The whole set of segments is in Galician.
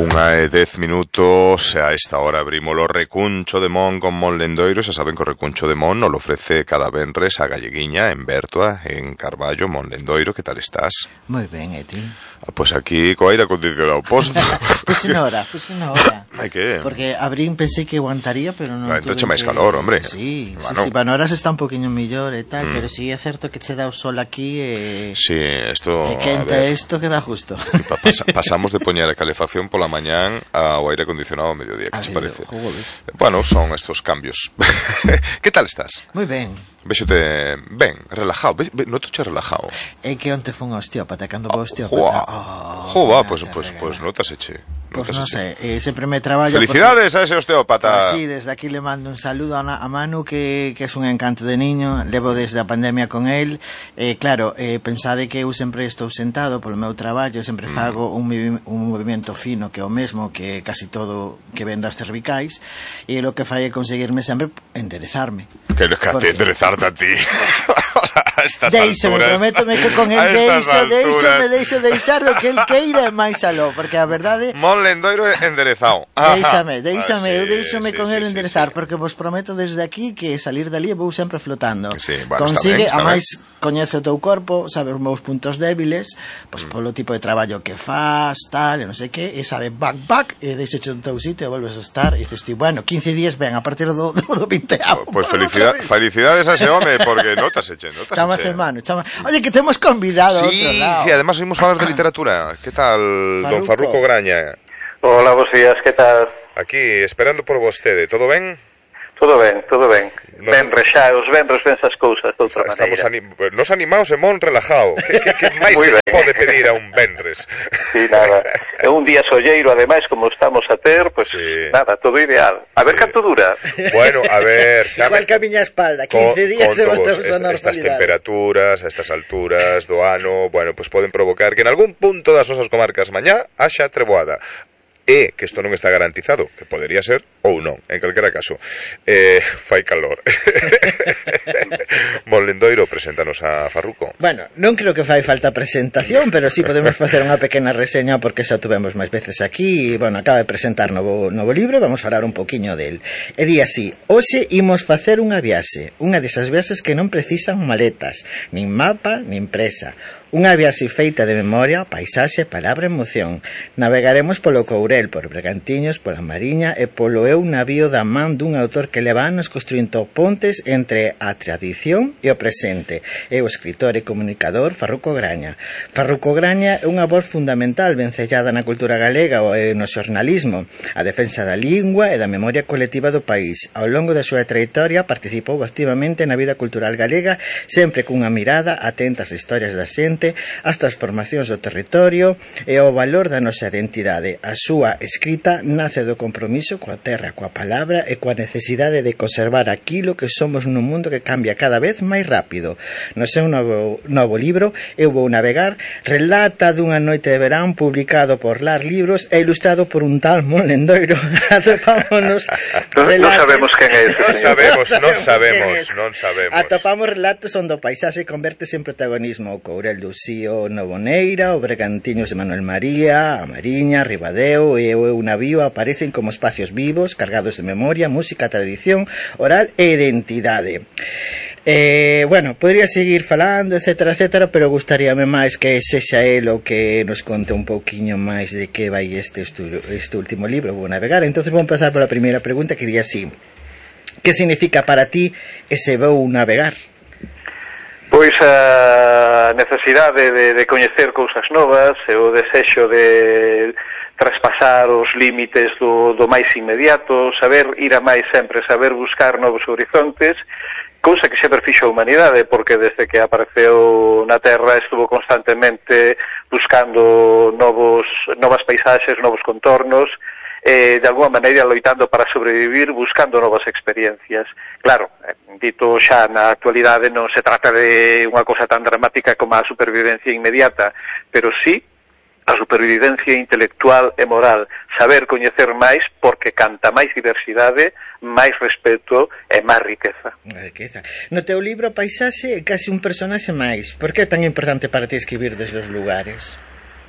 1:10 a esta hora abrimos o Recuncho de Mon con Mon Lendoiro. Xa saben que o Recuncho de Mon nos lo ofrece cada venres a Galleguiña en Bertoa, en Carballo. Mon Lendoiro, que tal estás? Moi ben, e ti? Pois aquí co aire acondicionado posto. Puse na hora. Ai, que? Porque abrín, pensei que aguantaría, pero non tuve entonces máis calor, hombre. Sí, bueno. sí, para horas está un poquinho mellor e tal, pero sí é certo que che dá o sol aquí e... Sí, esto... E quente isto que dá justo. Pasamos de poñer a calefacción pola mañán ao aire acondicionado ao mediodía, que se parece? Joder. Bueno, son estos cambios. Que tal estás? Moi ben. Véxote ben, relajado. Notoche relajado. É que onte fun ao osteópata, cando vou ao osteópata. Joa, pois notaseche. Pois non sei, sempre me traballo... Felicidades a ese osteópata. Sí, desde aquí le mando un saludo a Manu, que é un encanto de niño. Levo desde a pandemia con él. Claro, pensade que eu sempre estou sentado polo meu traballo, sempre fago un movimento fino que é o mesmo que casi todo que ven das cervicais, e o que fai é conseguirme sempre enderezarme. Que enderezarte a ti. Deixame, prométome que con el deixar do que el queira e máis aló, porque a verdade... Mon Lendoiro enderezado. Deixame, eu deixome con el enderezar, porque vos prometo desde aquí que salir dali vou sempre flotando. Sí, bueno, consigue, está ben, a máis coñece o teu corpo, sabe os meus puntos débiles, pois polo tipo de traballo que faz, tal, e non sei que, e sabe back, e deixeche un teu sitio e volves a estar, e dices ti, bueno, 15 días ben, a partir do 20º. Pois felicidades a ese home, porque notaseche. Chamas hermano, Oye, que te hemos convidado a outro lado. Sí, e además vimos falar de literatura. Que tal, don Farruco Graña? Hola, bos días, que tal? Aquí, esperando por vostede, todo ben? Todo ben. Venres xa, os venres ven esas cousas de outra maneira. Nos animados e mon relajado. Que máis se pode pedir a un venres? Sí, nada. É un día solleiro, ademais, como estamos a ter, pues sí. Nada, todo ideal. A ver canto dura. Bueno, a ver... Igual que a miña espalda, 15 días se voltamos a normalidade. Estas temperaturas, a estas alturas do ano, bueno, pues poden provocar que en algún punto das nosas comarcas mañá haxa treboada. E que isto non está garantizado, que podería ser ou non, en calquera caso. Fai calor. Mon Lendoiro, preséntanos a Farruco. Bueno, non creo que fai falta presentación, pero sí podemos facer unha pequena reseña porque xa tuvemos máis veces aquí. Bueno, acaba de presentar novo libro, vamos falar un poquinho del. E di así: hoxe imos facer unha viaxe, unha desas viaxes que non precisan maletas, nin mapa, nin presa. Unha viaxe feita de memoria, paisaxe, palabra e emoción. Navegaremos polo Courel, por Bergantiños, pola Mariña e polo navío da man dun autor que leva anos construindo pontes entre a tradición e o presente. É o escritor e comunicador Farruco Graña. Farruco Graña é unha voz fundamental vencellada na cultura galega e no xornalismo, a defensa da lingua e da memoria colectiva do país. Ao longo da súa trayectoria participou activamente na vida cultural galega, sempre cunha mirada atenta ás historias da xente, as transformacións do territorio e o valor da nosa identidade. A súa escrita nace do compromiso coa terra, coa palabra e coa necesidade de conservar aquilo que somos nun mundo que cambia cada vez máis rápido. No seu novo libro, Eu vou navegar, relata dunha noite de verán publicado por Lar Libros e ilustrado por un tal Mon Lendoiro. Atopámonos relatos... Non sabemos quen é. Non sabemos. Atopamos relatos onde o paisaxe convertese en protagonismo. O Courel do Xío Novoneira, o Bergantiños de Manuel María, a Mariña, Ribadeo e o navío aparecen como espacios vivos, cargados de memoria, música, tradición, oral e identidade. Bueno, podría seguir falando, etcétera, pero gustaríame máis que sexa el o que nos conte un pouquiño máis de que vai este último libro, Vou navegar. Entonces vou empezar pola primeira pregunta que di así: que significa para ti ese vou navegar? Pois a necesidade de coñecer cousas novas e o desexo de traspasar os límites do máis inmediato, saber ir a máis sempre, saber buscar novos horizontes, cousa que sempre fixo a humanidade, porque desde que apareceu na Terra estuvo constantemente buscando novas paisaxes, novos contornos, de alguma maneira loitando para sobrevivir, buscando novas experiencias. Claro, dito xa na actualidade non se trata de unha cosa tan dramática como a supervivencia inmediata, pero sí a supervivencia intelectual e moral, saber coñecer máis, porque canta máis diversidade, máis respeto e máis riqueza. No teu libro a paisaxe é casi un personaxe máis. Por que é tan importante para ti escribir desde os lugares?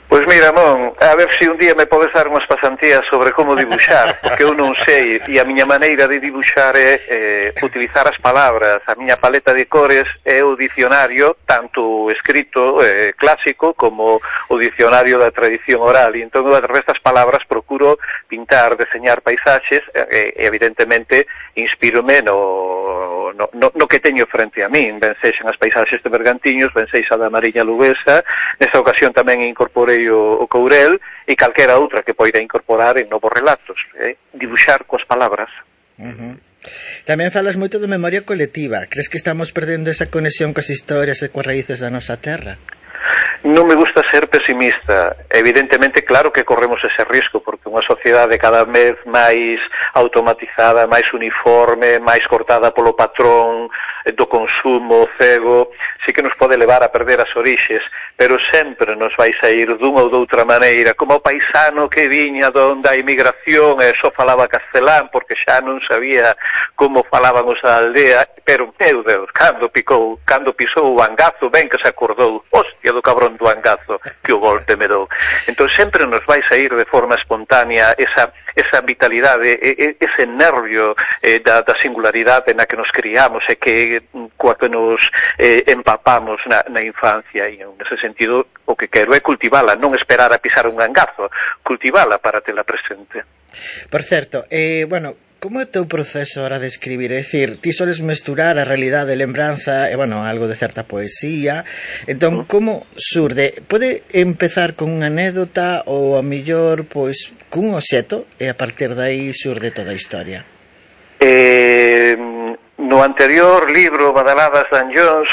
Pois Pois mira, Mon, a ver se un día me podes dar unhas pasantías sobre como dibuixar, porque eu non sei, e a miña maneira de dibuixar é utilizar as palabras, a miña paleta de cores é o dicionario, tanto escrito clásico como o dicionario da tradición oral, e entón eu a través das palabras procuro pintar, deseñar paisaxes, e evidentemente inspírome no que teño frente a min, ben sexan as paisaxes de Bergantiños, ben sexa da Mariña Luguesa, nesta ocasión tamén incorporei o Courel e calquera outra que poida incorporar en novos relatos, dibuixar coas palabras. Tamén falas moito de memoria colectiva. Crees que estamos perdendo esa conexión coas historias e coas raíces da nosa terra? Non me gusta ser pesimista. Evidentemente, claro que corremos ese risco, porque unha sociedade cada vez máis automatizada, máis uniforme, máis cortada polo patrón do consumo cego, sí que nos pode levar a perder as orixes, pero sempre nos vai sair dunha ou doutra maneira, como o paisano que viña donde a emigración e só falaba castelán, porque xa non sabía como falaban os da aldea, pero, meu Deus, cando pisou o angazo, ben que se acordou, hostia do cabrón do angazo, que o golpe me dou. Entón sempre nos vai sair de forma espontánea esa vitalidade, ese nervio da singularidade na que nos criamos e que coa que nos empapamos na infancia, e nese sentido o que quero é cultivala, non esperar a pisar un angazo, cultivala para tela presente. Por certo, como é o teu proceso a hora de escribir? É dicir, ti soles mesturar a realidade, lembranza e, algo de certa poesía. Entón, como surde? Pode empezar con unha anécdota ou, a mellor, pois, cun obxeto e a partir de aí surde toda a historia? No anterior libro, Badaladas de Anllóns,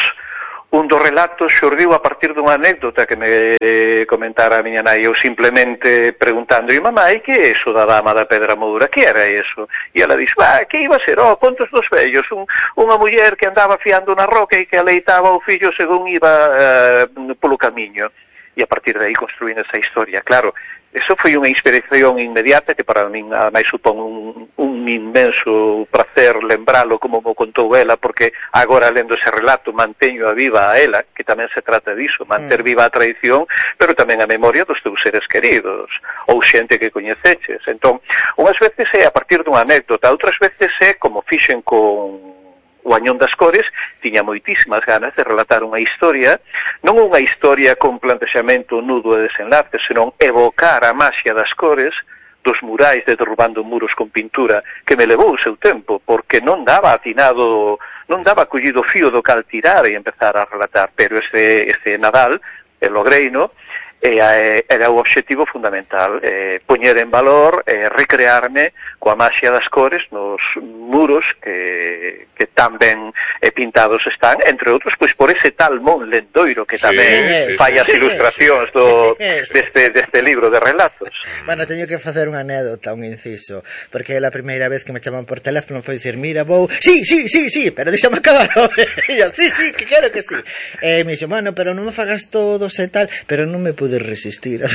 un dos relatos xurdiu a partir dunha anécdota que me comentara a miña nai, eu simplemente preguntando, mamá, e que é eso da dama da Pedra Moura? Que era eso? E ela dixo, que iba a ser? Contos dos vellos, unha muller que andaba fiando na roca e que aleitaba o fillo según iba polo camiño. E a partir de aí construín esa historia. Claro, eso foi unha inspiración inmediata que para min ademais supón un inmenso prazer lembralo como mo contou ela, porque agora lendo ese relato manteño a viva a ela, que tamén se trata diso, manter viva a tradición, pero tamén a memoria dos teus seres queridos ou xente que coñeceches. Entón, unhas veces é a partir dunha anécdota, outras veces é como fixen con o Añón das Cores, tiña moitísimas ganas de relatar unha historia, non unha historia con plantexamento nudo e desenlace, senón evocar a maxia das cores, dos murais de derrubando muros con pintura, que me levou o seu tempo, porque non daba atinado, non daba collido fío do cal tirar e empezar a relatar, pero ese Nadal, logreino, era o obxectivo fundamental, poñer en valor, recrearme coa maxia das cores nos muros que tan ben pintados están, entre outros, pois por ese tal Mon Lendoiro que tamén fai as ilustracións deste libro de relatos. Teño que facer unha anécdota, un inciso, porque a primeira vez que me chaman por teléfono foi dicir, mira, vou, sí, pero deixame acabar, e eu, sí, que quero que sí. E me dixo, pero non me fagas todos e tal, pero non me pude resistir.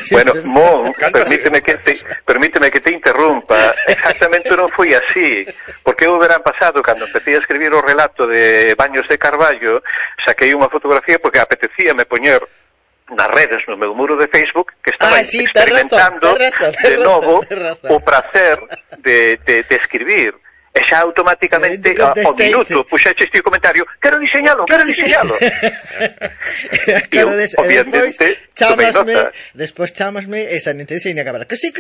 Bueno, Mon, permíteme que te interrumpa. Exactamente non foi así, porque o verán pasado, cando empecé a escribir o relato de Baños de Carballo, saquei unha fotografía porque apetecíame poñer nas redes, no meu muro de Facebook, que estaba experimentando de novo o prazer de escribir. E xa automáticamente ao minuto puxeche este comentario, quero diseñalo. Claro, despois chámasme esa nin te diseña acabar que sí,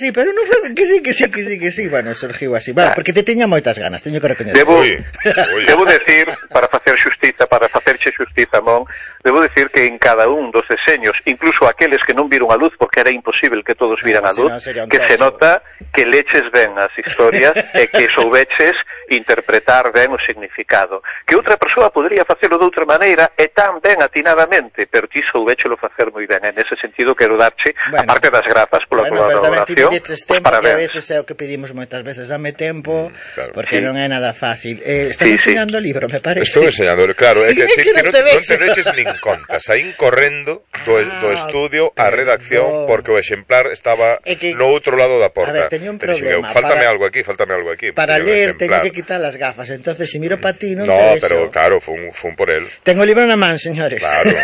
pero non foi que sí, bueno, surgiu así, porque te teña moitas ganas, teño que recoñecer. Debo decir, para facerche xustiza, Mon, debo decir que en cada un dos deseños, incluso aqueles que non viron a luz, porque era imposible que todos viran a luz, que se nota que leches ben as historias e que soubeches interpretar ben o significado. Que outra persoa podría facelo de outra maneira e tan ben atinadamente, pero ti soubéchelo facer moi ben. En ese sentido quero darche, a parte das grazas pola colaboración, pues parabéns. A veces é o que pedimos moitas veces, dame tempo, porque non é nada fácil. Estás enseñando o libro, me parece. Estou enseñando, claro, é que non te deches ningún en conta. Saín correndo do estudio á redacción porque o exemplar estaba no outro lado da porta. A ver, teño un problema. Faltame algo aquí. Para ler teño que quitar as gafas, entonces se miro para ti non no, te pero claro, fun por él. Tengo o libro na man, señores. Claro,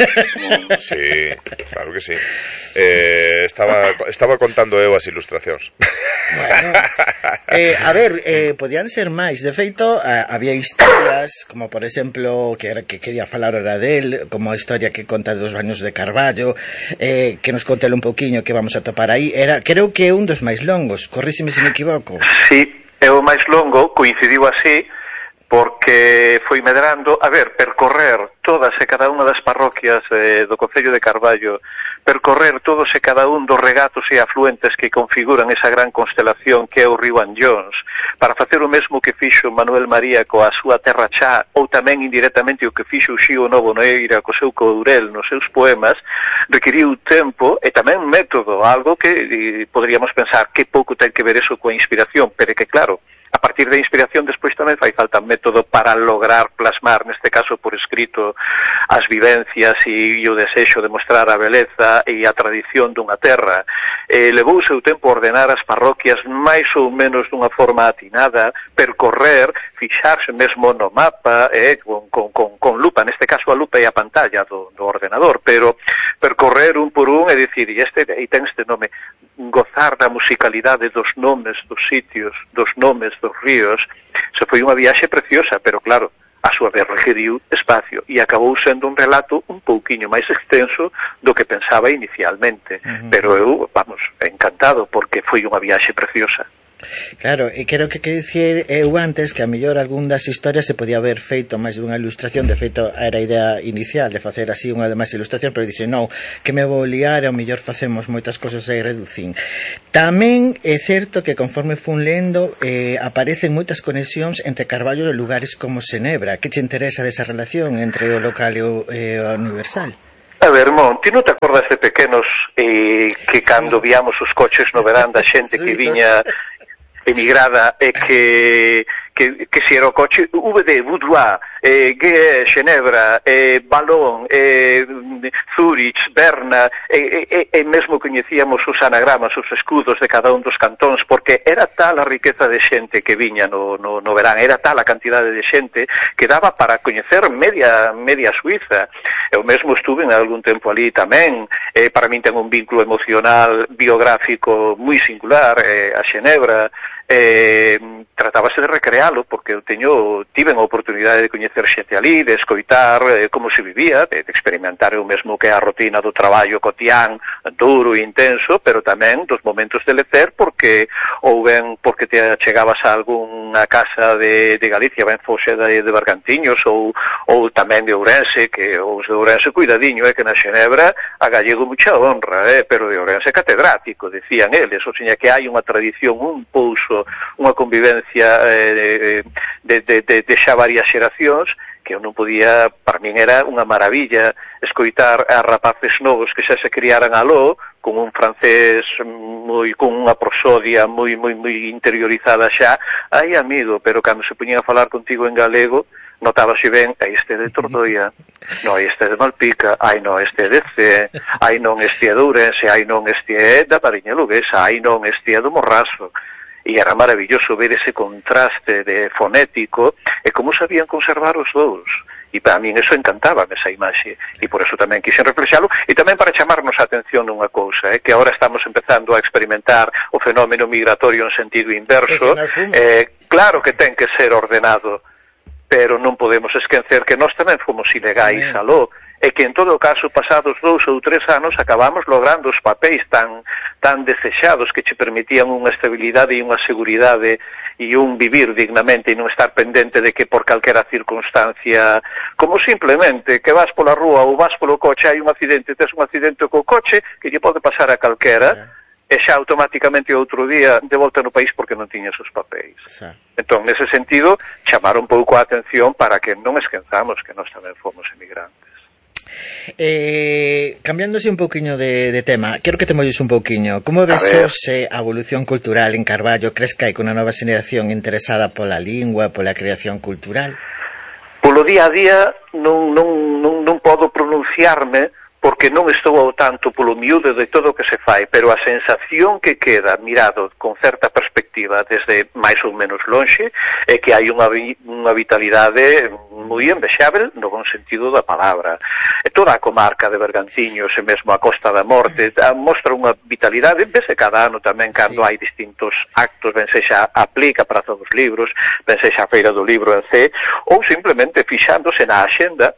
sí, claro que sí. Estaba contando eu as ilustracións. Bueno, a ver, podían ser máis. De feito, había historias, como por exemplo, que quería falar ahora del, como a historia que conta dos baños de Carballo, que nos contele un pouquiño que vamos a topar aí. Creo que é un dos máis longos, corríseme se me equivoco. Sí, é o máis longo, coincidiu así, porque foi medrando, a ver, percorrer todas e cada unha das parroquias do concello de Carballo, percorrer todos e cada un dos regatos e afluentes que configuran esa gran constelación que é o río Anllóns, para facer o mesmo que fixo Manuel María coa súa terra xa, ou tamén indirectamente o que fixo o Xío Novo Noeira co seu Courel nos seus poemas, requiriu tempo e tamén método, algo que poderíamos pensar que pouco ten que ver eso coa inspiración, pero que claro, a partir da inspiración despois tamén fai falta método para lograr plasmar, neste caso por escrito, as vivencias e o desexo de mostrar a beleza e a tradición dunha terra. Levou o seu tempo ordenar as parroquias máis ou menos dunha forma atinada, percorrer, fixarse mesmo no mapa, con lupa, neste caso a lupa e a pantalla do ordenador, pero percorrer un por un e dicir, e ten este nome, gozar da musicalidade dos nomes dos sitios, dos nomes dos ríos. Se foi unha viaxe preciosa, pero claro, a súa vez requeriu espacio e acabou sendo un relato un pouquiño máis extenso do que pensaba inicialmente. Pero eu, vamos, encantado porque foi unha viaxe preciosa. Claro, e creo que dicir eu antes que a mellor algún das historias se podía haber feito máis dunha ilustración. De feito era a idea inicial de facer así unha de máis ilustración, pero dixe non, que me vou liar e ao mellor facemos moitas cosas e reducín. Tamén é certo que conforme fun lendo aparecen moitas conexións entre Carballo e lugares como Xenebra. Que te interesa desa relación entre o local e o universal? A ver, Mon, ti non te acordas de pequenos que cando víamos os coches no verán da xente que viña emigrada e que si era o coche VD, Boudoir, Xenebra, Balón, Zurich, Berna, e mesmo coñecíamos os anagramas, os escudos de cada un dos cantóns, porque era tal a riqueza de xente que viña no verán, era tal a cantidade de xente que daba para coñecer media Suiza. Eu mesmo estuve en algún tempo ali tamén, para min ten un vínculo emocional biográfico moi singular a Xenebra. Tratábase de recrealo porque eu tive a oportunidade de coñecer xente ali, de escoitar como se vivía, de experimentar o mesmo que a rutina do traballo cotián, duro e intenso, pero tamén dos momentos de lecer porque porque te chegabas a algunha casa de Galicia, ben fose de Bergantiños ou tamén de Ourense, que os de Ourense cuidadiño, que na Xenebra a gallego mucha honra, pero de Ourense catedrático, decían eles, ou seña que hai unha tradición, un pouso, unha convivencia de xa varias xeracións que eu non podía, para min era unha maravilla escoitar a rapaces novos que xa se criaran aló con un francés con unha prosodia moi interiorizada xa, ai amigo, pero cando se poñían a falar contigo en galego notábase ben, este é de Tordoia, no, este é de Malpica, ai non, este é de C, ai non, este é de Ourense, ai non, este é da Mariña Luguesa, ai non, este é do Morrazo. E era maravilloso ver ese contraste de fonético e como sabían conservar os dous. E para min eso encantaba esa imaxe e por eso tamén quixen reflexalo e tamén para chamarnos a atención nunha cousa, que agora estamos empezando a experimentar o fenómeno migratorio en sentido inverso. Claro que ten que ser ordenado, pero non podemos esquecer que nós tamén fomos ilegais aló e que en todo caso pasados 2 ou 3 anos acabamos logrando os papéis tan desexados que che permitían unha estabilidade e unha seguridade e un vivir dignamente e non estar pendente de que por calquera circunstancia, como simplemente que vas pola rúa ou vas polo coche, hai un accidente, tes un accidente co coche que lle pode pasar a calquera e xa automáticamente outro día de volta no país porque non tiñas os papéis. Entón, nese sentido, chamar un pouco a atención para que non esquenzamos que nós tamén fomos emigrantes. Cambiándose un pouquiño de tema, quero que te molles un pouquiño. Como ves a evolución cultural en Carballo? Crees que hai unha nova xeración interesada pola lingua, pola creación cultural? Polo día a día non non podo pronunciarme porque non estou ao tanto polo miúdo de todo o que se fai, pero a sensación que queda mirado con certa perspectiva desde máis ou menos lonxe é que hai unha vitalidade moi envexável no bon sentido da palabra. E toda a comarca de Bergantiños e mesmo a Costa da Morte mostra unha vitalidade, vese cada ano tamén cando hai distintos actos, ben sexa a Plica, Praza dos Libros, ben sexa a Feira do Libro en C, ou simplemente fixándose na axenda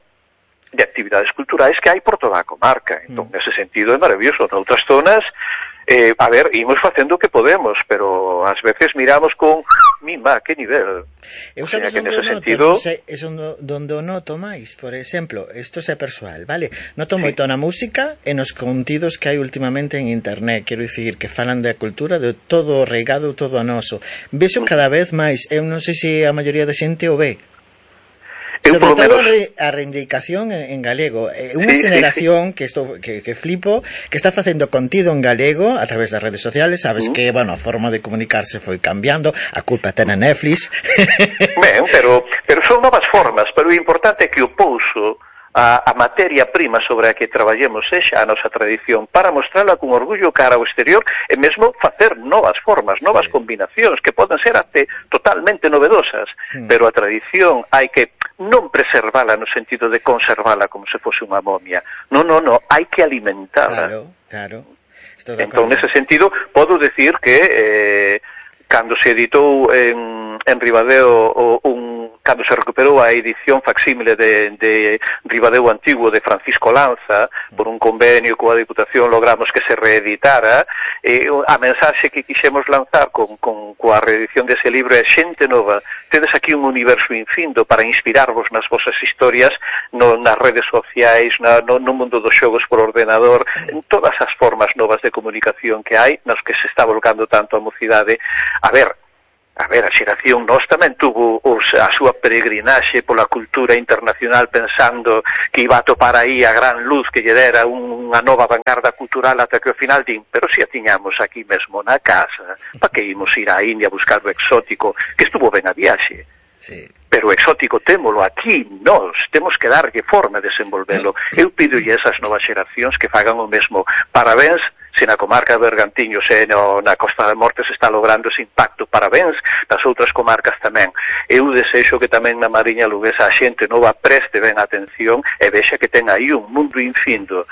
de actividades culturais que hai por toda a comarca. Entón, nese sentido é maravilloso. Noutras zonas, a ver, imos facendo o que podemos, pero ás veces miramos con mima, que nivel. Eu sabes onde o noto, é onde o noto máis, por exemplo, isto é persoal, vale? Noto moito na música e nos contidos que hai últimamente en internet, quero dicir, que falan da cultura, de todo o reigado, todo a noso. Vexo cada vez máis, eu non sei se a maioría da xente o ve. Sobre todo a reivindicación en galego. Unha generación que flipo, que está facendo contido en galego a través das redes sociales. Sabes que, bueno, a forma de comunicarse foi cambiando, a culpa ten a Netflix. Ben, pero son novas formas, pero o importante é que o pouso a materia prima sobre a que traballemos sexa a nosa tradición para mostrarla con orgullo cara ao exterior e mesmo facer novas formas, novas combinacións que poden ser até totalmente novedosas, pero a tradición hai que non preservala no sentido de conservala como se fose unha momia. Non, hai que alimentarla. Claro. Entón, nese sentido, podo decir que cando se editou en Ribadeo cando se recuperou a edición facsímile de Ribadeo Antigo de Francisco Lanza, por un convenio coa Diputación logramos que se reeditara, a mensaxe que quixemos lanzar coa reedición dese libro é: xente nova, tedes aquí un universo infindo para inspirarvos nas vosas historias nas redes sociais, no mundo dos xogos por ordenador, en todas as formas novas de comunicación que hai, nas que se está volcando tanto a mocidade. A ver, a xeración nós tamén tuvo a súa peregrinaxe pola cultura internacional pensando que iba a topar aí a gran luz que lle dera unha nova vanguarda cultural ata que ao final din, pero si a tiñamos aquí mesmo na casa, pa que imos ir á India a buscar o exótico, que estuvo ben a viaxe. Sí. Pero o exótico témolo aquí, nós temos que darlle forma de desenvolvelo. Eu pidolle a esas novas xeracións que fagan o mesmo. Parabéns se na comarca de Bergantiños e na Costa da Morte se está logrando ese impacto. Parabéns das outras comarcas tamén. Eu desexo que tamén na Mariña Luguesa a xente nova preste ben atención e vexa que ten aí un mundo infindo.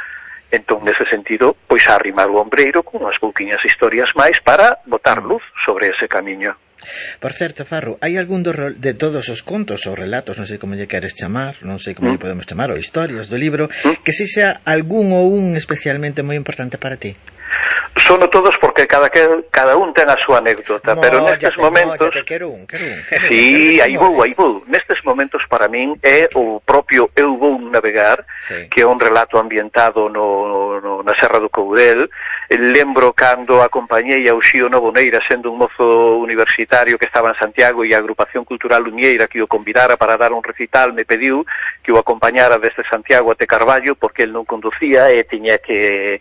Entón, nese sentido, pois a arrimar o ombreiro con unhas pouquiñas historias máis para botar luz sobre ese camiño. Por certo, Farru, hai algún de todos os contos ou relatos, non sei como lle queres chamar, non sei como lle podemos chamar, ou historias do libro, que si sea algún ou un especialmente moi importante para ti? Sono todos porque cada un ten a súa anécdota, pero nestes momentos... Quero un. Sí, aí vou. Nestes momentos para min é o propio Eu vou navegar, que é un relato ambientado na Serra do Courel. Lembro cando acompañei a Uxío Novoneira sendo un mozo universitario que estaba en Santiago e a Agrupación Cultural Luñeira que o convidara para dar un recital me pediu que o acompañara desde Santiago até Carballo porque el non conducía e tiña que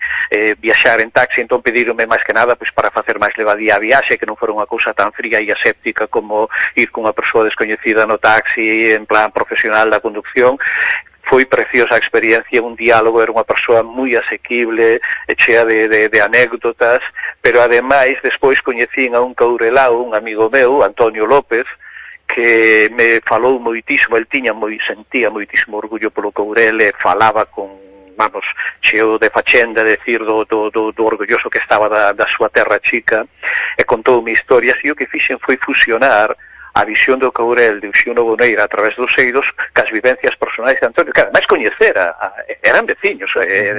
viaxar en taxi, entón pedironme máis que nada pois para facer máis levadía a viaxe, que non fora unha cousa tan fría e aséptica como ir con unha persoa descoñecida no taxi en plan profesional da conducción. Foi preciosa a experiencia, un diálogo, era unha persoa moi asequible, chea de anécdotas, pero ademais despois coñecín a un caurelao, un amigo meu, Antonio López, que me falou moitísimo, el sentía moitísimo orgullo polo Courel e falaba con cheo de fachenda, decir do orgulloso que estaba da súa terra chica, e contoume historias, e o que fixen foi fusionar a visión do Courel de Uxío Novoneira a través dos eidos cas vivencias personais de Antonio, que ademais coñecera, eran veciños,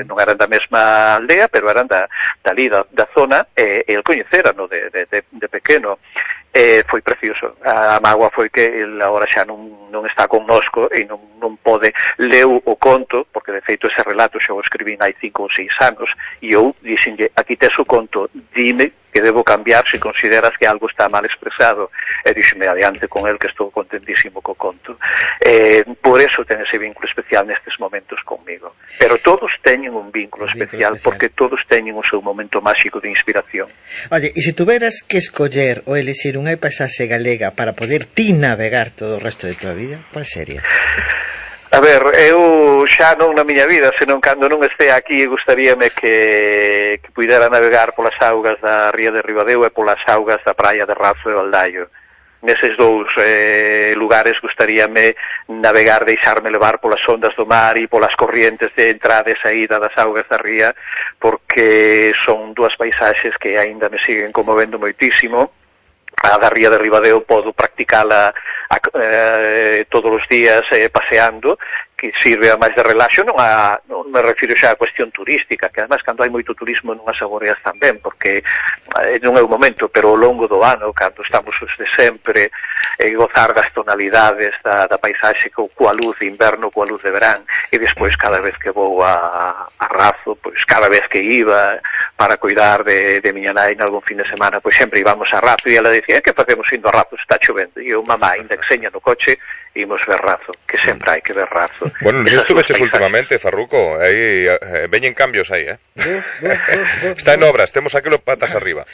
non eran da mesma aldea, pero eran da zona, e el coñecera de pequeno. Foi precioso. A mágoa foi que el agora xa non está connosco e non pode leu o conto, porque de feito ese relato xa o escribín hai 5 ou 6 anos, e eu dixenlle, aquí tes o conto, dime que debo cambiar se consideras que algo está mal expresado, e dixeme adiante con el que estou contentísimo co conto. Por eso ten ese vínculo especial nestes momentos conmigo, pero todos teñen un vínculo especial porque todos teñen o seu momento máxico de inspiración. Oye, e se tuveras que escoller ou elixir unha paisaxe galega para poder ti navegar todo o resto de tua vida, cual sería? A ver, eu xa non na miña vida, senón cando non este aquí, gustaríame que puidera navegar polas augas da ría de Ribadeo e polas augas da praia de Razo e Valdaio. Neses dous lugares gustaríame navegar, deixarme levar polas ondas do mar e polas corrientes de entrada e saída das augas da ría, porque son dúas paisaxes que aínda me siguen conmovendo moitísimo. A da ría de Ribadeo podo practicala todos os días paseando, que sirve a máis de relaxo, non me refiro xa a cuestión turística, que además cando hai moito turismo non as saboreas tamén, porque non é o momento, pero ao longo do ano, cando estamos os de sempre, gozar das tonalidades da paisaxe coa luz de inverno, coa luz de verán, e despois cada vez que vou a Razo, pois cada vez que iba para cuidar de miña nai en algún fin de semana, pois sempre íbamos a Razo, e ela dicía, que facemos indo a Razo, está chovendo, e eu, mamá, ainda que seña no coche, imos ver Razo, que sempre hai que ver Razo. Bueno, non sei estuveches últimamente, Farruco, aí veñen cambios aí, Está en obras, temos aquilo patas arriba.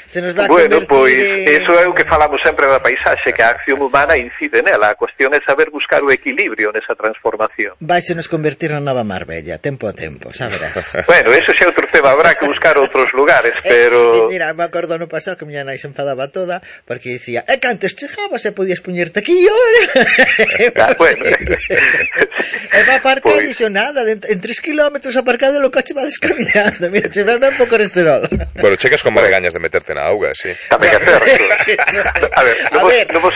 Bueno, pois, eso é o que falamos sempre da paisaxe, que a acción humana incide nela, a cuestión é saber buscar o equilibrio nesa transformación. Vais a nos convertir na nova Marbella, tempo a tempo, xa verás. Bueno, eso xa é outro tema, habrá que buscar outros lugares, pero... Mira, me acordo no pasado que miña nai se enfadaba toda, porque dicía, que antes chegabas e podías poñerte aquí e ahora... Bueno... E va aparcar e xo nada, en 3 kilómetros aparcado o coche vas camiñando. Mira, che veme un pouco colesterol. Bueno, chegas con máis gañas de meterte na auga, sí. Tamén é certo. A ver, non vos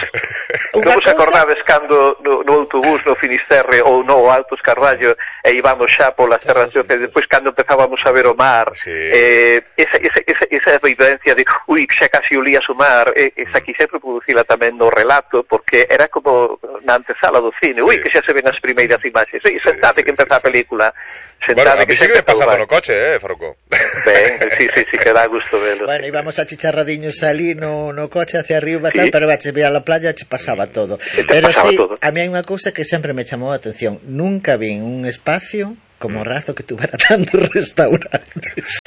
acordades cando no autobús no Finisterre ou no Altos Carballo e íbamos xa polas terras de Oce, despois cando empezábamos a ver o mar, esa vivencia de xa casi olías o mar, esa quixer reproducila tamén no relato, porque era como na antesala do cine, que xa se ven as primeiras imaxes, sentate que empeza a película, bueno, a mí sí que me pasaba no coche, Farruco. Ben, sí, que dá gusto velo. Bueno, íbamos a chicharradiños ali no coche hacia arriba, tal, pero che veía a la playa, che pasaba todo. Pero sí, a mí hai unha cousa que sempre me chamou a atención, nunca vi un espacio como Razo que tuvera tantos restaurantes.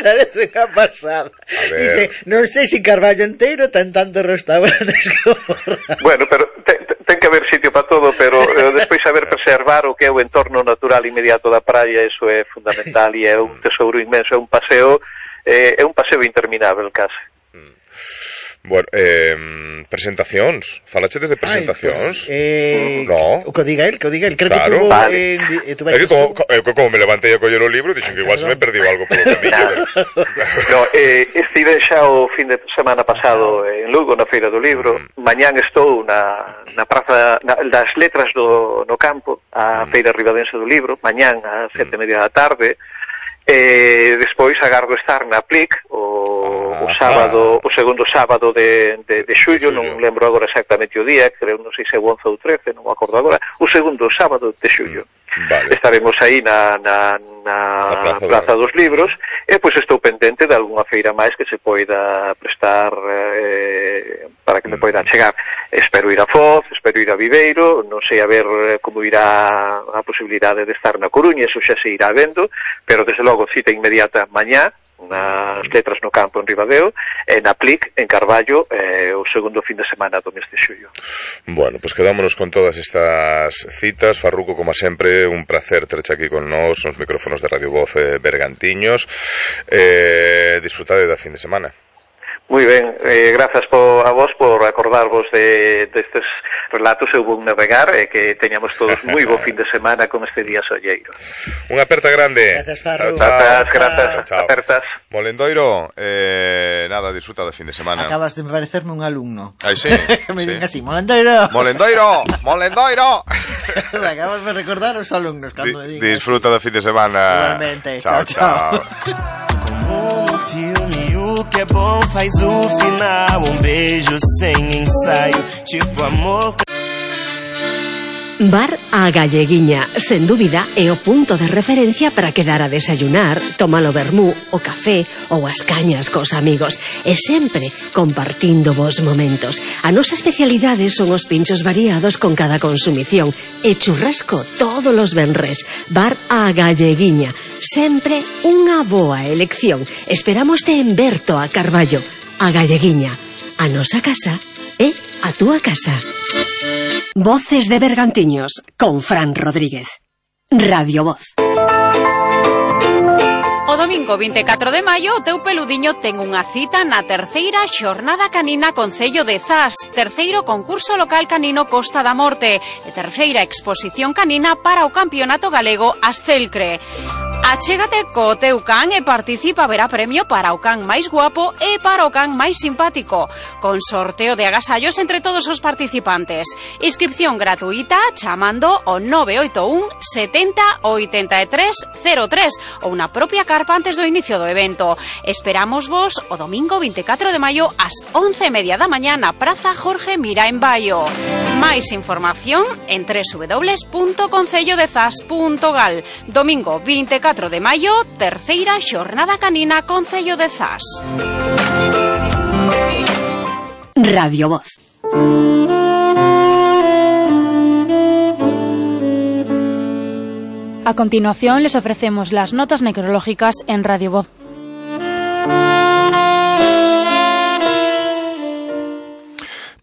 Parece unha pasada. Dice, non sei se Carballo inteiro ten tantos restaurantes como Razo. Bueno, pero ten que haber sitio para todo, pero despois saber preservar o que é o entorno natural inmediato da praia, eso é fundamental e é un tesouro inmenso, é un paseo interminável case. Bueno, presentacións. Falachedes de presentacións? No. O que diga el. Creo claro. Que tuvo... É que como me levantei a coller o libro, dixen que igual se me perdiu algo polo camiño. No, estive xa o fin de semana pasado en Lugo, na Feira do Libro. Mañán estou na praza das letras no campo, a Feira Ribadense do Libro, mañán a 7:30 da tarde. Despois agardo estar na Plic o sábado, o segundo sábado de xullo, non lembro agora exactamente o día, creo, non sei se é o 11 ou 13, non me acordo agora, o segundo sábado de xullo. Vale. Estaremos aí na Praza dos Libros e pois estou pendente de algunha feira máis que se poida prestar para que me poida chegar. Espero ir a Foz, espero ir a Viveiro, non sei a ver como irá a posibilidade de estar na Coruña, eso xa se irá vendo, pero desde logo cita inmediata mañá nas letras no campo en Ribadeo e na Plic en Carballo o segundo fin de semana do mes de xullo. Bueno, pues quedámonos con todas estas citas. Farruco, como sempre, un placer terche aquí con nós nos micrófonos de Radio Voz Bergantiños. Disfrutade da fin de semana. Moi ben, grazas a vos por acordarvos destes relatos. Eu vou navegar e que teñamos todos moi bo fin de semana con este día solleiro. Unha aperta grande. Gracias, Farru. Grazas, apertas. Molendoiro, nada, disfruta do fin de semana. Acabas de parecerme un alumno. Ai, sí. Me din así, Molendoiro. Acabas de recordar os alumnos cando me din. Disfruta do fin de semana. Igualmente. Chao. Como no filme, o que é bom faz o final. Beijo sem ensaio, tipo amor. Bar A Galleguiña, sen dúbida, é o punto de referencia para quedar a desayunar, tomar o vermú, o café ou as cañas cos amigos, e sempre compartindo vos momentos. A nosa especialidade son os pinchos variados con cada consumición e churrasco todos os venres. Bar A Galleguiña, sempre unha boa elección. Esperamos en Berto a Carballo. A Galleguiña, a nosa casa é a túa casa. Voces de Bergantiños, con Fran Rodríguez. Radio Voz. O domingo 24 de maio, o teu peludiño ten unha cita na terceira xornada canina Concello de Zas, terceiro concurso local canino Costa da Morte e terceira exposición canina para o Campeonato Galego Astelcre. Achégate co teu can e participa, verá premio para o can máis guapo e para o can máis simpático, con sorteo de agasallos entre todos os participantes. Inscripción gratuita chamando ao 981 70 83 03 ou na propia carpa antes do inicio do evento. Esperamos vos o domingo 24 de maio ás 11:30 da mañá na Praza Jorge Mira en Baio. Máis información en www.concellodezas.gal. Domingo 24 de maio, terceira xornada canina Concello de Zas. Radio Voz. A continuación les ofrecemos las notas necrológicas en Radio Voz.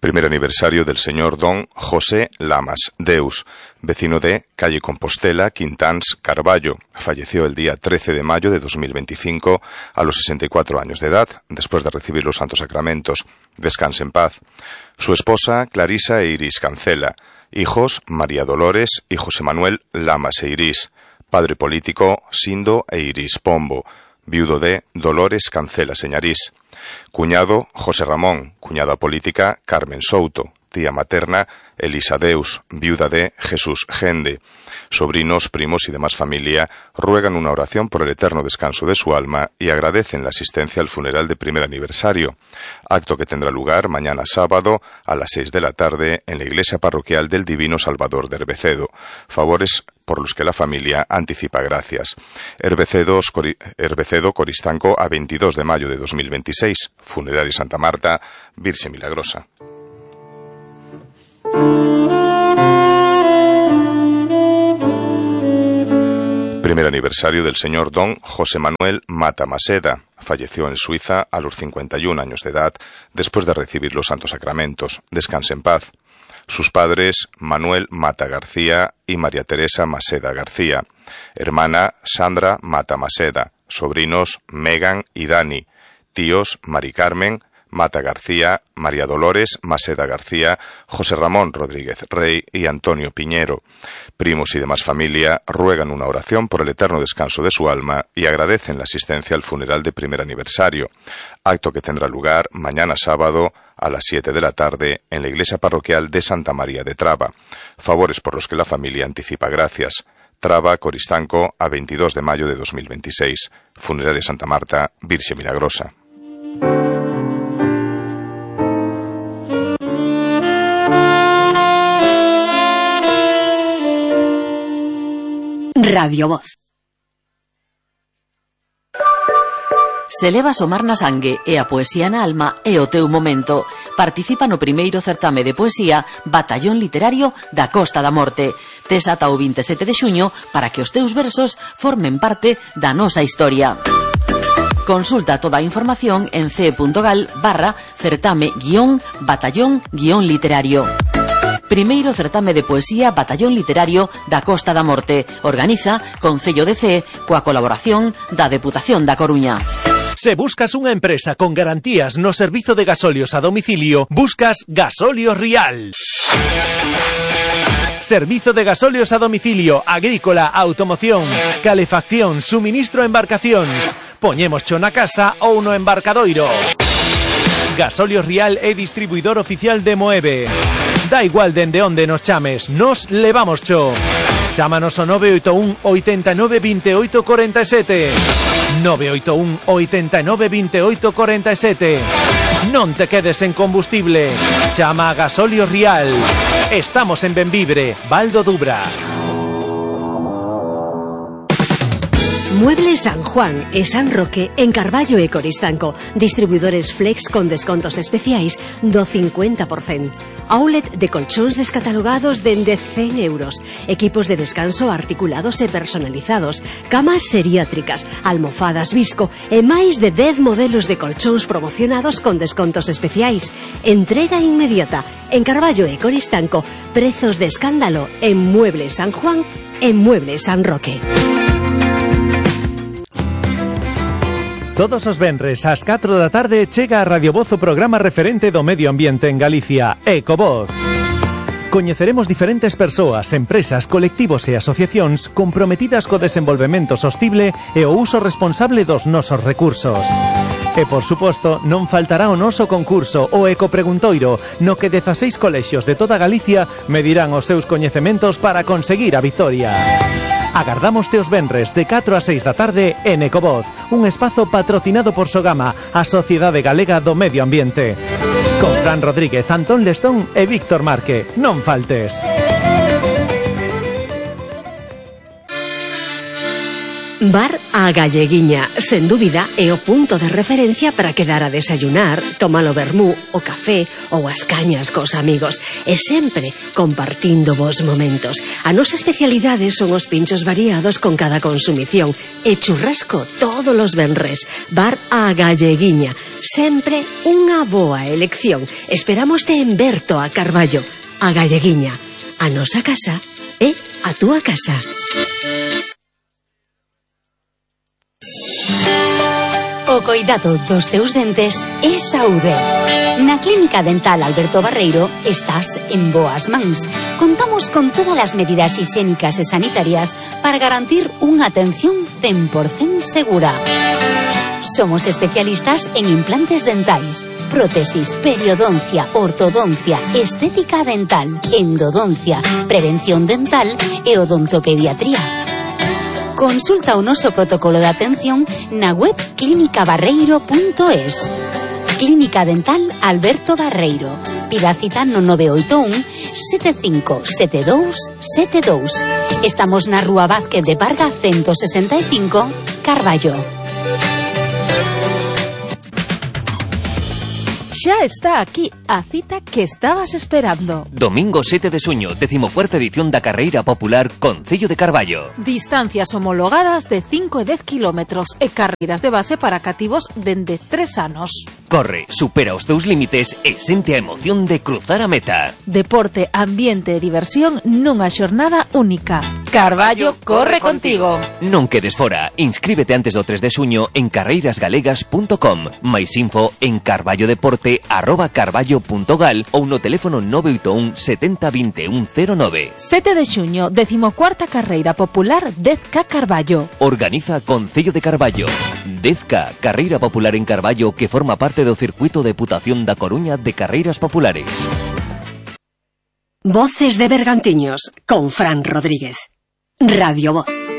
Primer aniversario del señor don José Lamas Deus, vecino de calle Compostela, Quintáns, Carballo. Falleció el día 13 de mayo de 2025 a los 64 años de edad, después de recibir los santos sacramentos. Descanse en paz. Su esposa, Clarisa e Iris Cancela. Hijos, María Dolores y José Manuel Lamas e Iris. Padre político, Sindo e Iris Pombo. Viudo de Dolores Cancela Señarís. Cuñado, José Ramón. Cuñada política, Carmen Souto. Tía materna, Elisa Deus, viuda de Jesús Gende. Sobrinos, primos y demás familia ruegan una oración por el eterno descanso de su alma y agradecen la asistencia al funeral de primer aniversario, acto que tendrá lugar mañana sábado a las 6 de la tarde en la iglesia parroquial del Divino Salvador de Herbecedo. Favores por los que la familia anticipa gracias. Herbecedo, Coristanco, a 22 de mayo de 2026. Funeraria Santa Marta, Virxe Milagrosa. Primer aniversario del señor don José Manuel Mata Maseda. Falleció en Suiza a los 51 años de edad después de recibir los santos sacramentos. Descanse en paz. Sus padres, Manuel Mata García y María Teresa Maseda García. Hermana, Sandra Mata Maseda. Sobrinos, Megan y Dani. Tíos, Mari Carmen Mata García, María Dolores Maseda García, José Ramón Rodríguez Rey y Antonio Piñero. Primos y demás familia ruegan una oración por el eterno descanso de su alma y agradecen la asistencia al funeral de primer aniversario, acto que tendrá lugar mañana sábado a las 7 de la tarde en la iglesia parroquial de Santa María de Traba. Favores por los que la familia anticipa gracias. Traba, Coristanco, a 22 de mayo de 2026. Funeraria Santa Marta, Virxe Milagrosa. Radio Voz. Se leva a somar na sangue e a poesía na alma é o teu momento. Participa no primeiro certame de poesía Batallón Literario da Costa da Morte. Tes ata o 27 de xuño para que os teus versos formen parte da nosa historia. Consulta toda a información en ce.gal/certame-batallón-literario. Primeiro certame de poesía Batallón Literario da Costa da Morte. Organiza Concello de Cee coa colaboración da Deputación da Coruña. Se buscas unha empresa con garantías no servizo de gasolios a domicilio, buscas Gasolios Rial. Servizo de gasolios a domicilio, agrícola, automoción, calefacción, suministro a embarcacións. Poñémoscho na casa ou no embarcadoiro. Gasolios Rial é distribuidor oficial de Moeve. Da igual dende onde nos chames, nos levamos cho. Chámanos ao 981 89 28 47. 981 89 28 47. Non te quedes en combustible. Chama a Gasolios Rial. Estamos en Benvibre, Val do Dubra. Muebles San Juan e San Roque en Carballo e Coristanco. Distribuidores Flex con descontos especiais do 50%. Outlet de colchóns descatalogados dende 100 euros. Equipos de descanso articulados e personalizados. Camas seriátricas, almofadas Visco e máis de 10 modelos de colchóns promocionados con descontos especiais. Entrega inmediata en Carballo e Coristanco. Prezos de escándalo en Muebles San Juan e Muebles San Roque. Todos os venres ás 4 da tarde chega a Radio Voz o programa referente do medio ambiente en Galicia, Ecovoz. Coñeceremos diferentes persoas, empresas, colectivos e asociacións comprometidas co desenvolvemento sostible e o uso responsable dos nosos recursos. E, por suposto, non faltará o noso concurso, o Ecopreguntoiro, no que 16 colexios de toda Galicia medirán os seus coñecementos para conseguir a vitoria. Agardamos-te os venres de 4 a 6 da tarde en Ecovoz, un espazo patrocinado por Sogama, a Sociedade Galega do Medio Ambiente. Con Fran Rodríguez, Antón Lestón e Víctor Marque. Non faltes. Bar A Galleguiña, sen dúbida, é o punto de referencia para quedar a desayunar, tomar o vermú, o café ou as cañas cos amigos, e sempre compartindo vos momentos. A nosa especialidade son os pinchos variados con cada consumición e churrasco todos os venres. Bar A Galleguiña, sempre unha boa elección. Esperámoste en Berto a Carballo. A Galleguiña, a nosa casa é a túa casa. O coidado dos teus dentes é saúde. Na Clínica Dental Alberto Barreiro estás en boas mans. Contamos con todas as medidas higiénicas e sanitarias para garantir unha atención 100% segura. Somos especialistas en implantes dentais, prótesis, periodoncia, ortodoncia, estética dental, endodoncia, prevención dental e odontopediatría. Consulta o noso protocolo de atención na web clinicabarreiro.es. Clínica Dental Alberto Barreiro. Pida cita no 981 757272. Estamos na Rúa Vázquez de Parga 165, Carballo. Xa está aquí a cita que estabas esperando. Domingo 7 de xuño, 14ª edición da Carreira Popular Concello de Carballo. Distancias homologadas de 5 e 10 kilómetros e carreiras de base para cativos dende 3 anos. Corre, supera os teus límites e sente a emoción de cruzar a meta. Deporte, ambiente e diversión nunha xornada única. Carballo corre contigo. Non quedes fora. Inscríbete antes do 3 de xuño en carreirasgalegas.com. Mais info en carballodeporte@carballo.gal ou no teléfono 981 70 21 09. 7 de xuño, 14ª Carreira Popular 10K Carballo. Organiza Concello de Carballo. 10K, Carreira Popular en Carballo, que forma parte do circuito de Deputación da Coruña de Carreiras Populares. Voces de Bergantiños con Fran Rodríguez. Radio Voz.